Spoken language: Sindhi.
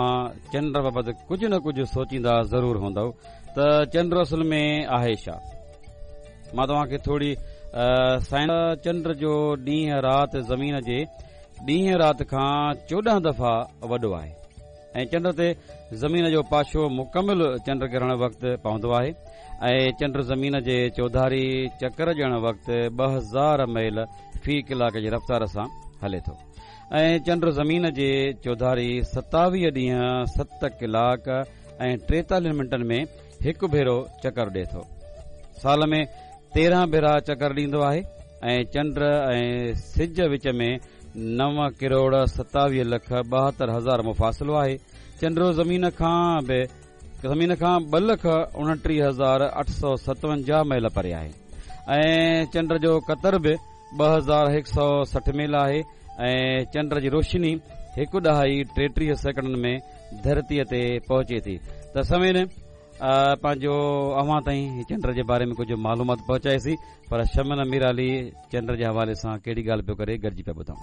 توهان چنڊ بابت ڪجهه نه ڪجهه سوچيندا ضرور هوندؤ ته چنڊ اصل ۾ آهي ڇا؟ مان توهان کي ٿوري سائنس چنڊ جو ڏينهن رات زمين جي ڏينهن رات کان 14 دفعا وڏو آهي ۽ چنڊ تي زمين جو پاڇو مڪمل چنڊ گرهڻ وقت پوندو آهي ۽ چنڊ زمين جي چوڌاري چڪر ڏيڻ وقت 2000 ميل في ڪلاڪ جي رفتار سان هلي ٿو. ۽ چنڊ زمين جي چوڌاري 27 ڏينهن 7 ڪلاڪ ۽ 43 منٽن ۾ هڪ ڀيرو چڪر ڏئي ٿو. سال ۾ 13 ڀيرا چڪر ڏيندو آهي ۽ چنڊ ۽ سج وچ ۾ 9 ڪروڙ 27 لک 72 هزار مفاصلو آهي. چنڊ زمين کان به زمين کان 2,29,857 ميل پري آهي ۽ چنڊ جو قطر به 2160 ميل آهي ۽ چنڊ جي روشني هڪ ڏهائي 33 سيڪنڊن ۾ ڌرتيء تي پهچي ٿي ته سامعين پنهنجو اوهان تائين چنڊ جي باري ۾ ڪجهه معلومات پهچائيسين پر شمن ميرالي چنڊ جي حوالي سان ڪهڙي ڳالهه پيو ڪري گڏجي پيا ٻڌون.